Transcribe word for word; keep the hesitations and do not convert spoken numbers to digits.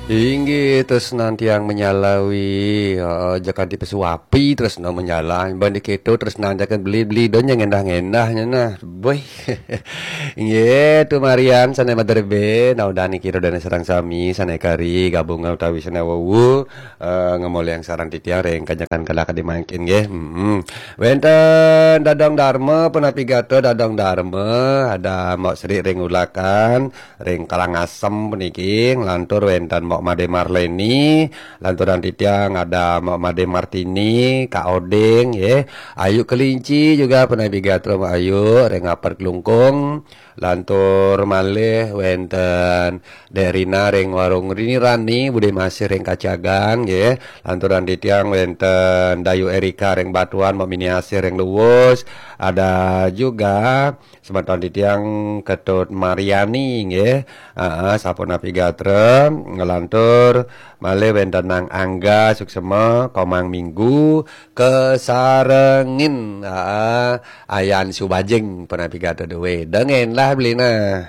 Inggih, tresnan tiang menyalawi. Heeh, ja kanti pesu api tresna menyala. Ban diketo tresnan jaken beli-beli do nyang endah-endahnye nah. Boy. Inggih, tumarian sane madrebe, naudan niki ro dane sareng sami, sane kari gabung utawi sane wewu, eh, ngemolihang sareng titiang ring kajekan kala kadi mangkin nggih. Mm-mm. Wenten Dadong Darma, punapi gatra Dadong Darma, ada Mbok Sri ring Ulakan, ring Karangasem puniki, nglantur wenten Mbok Made Marleni, lanturan titiang ada Mbok Made Martini, Kak Oding, nggih. Ayu Kelinci juga punapi gatra Mbok Ayu, ring Aper Klungkung, lantur malih wenten Dek Rina ring Warung Rini Rani, Bude Masih ring Kacagan, nggih. Lanturan titiang wenten Dayu Erika ring Batuan, Mbok Mini Asih ring Luwus, ada juga semeton titiang Ketut Mariani, nggih. Heeh, sapunapi gatra, nglantur malih wenten Nang Angga Suksema, Komang Minggu, kasarengin, heeh, Ayan Subajing punapi gatra duwe. Dengen lah belina.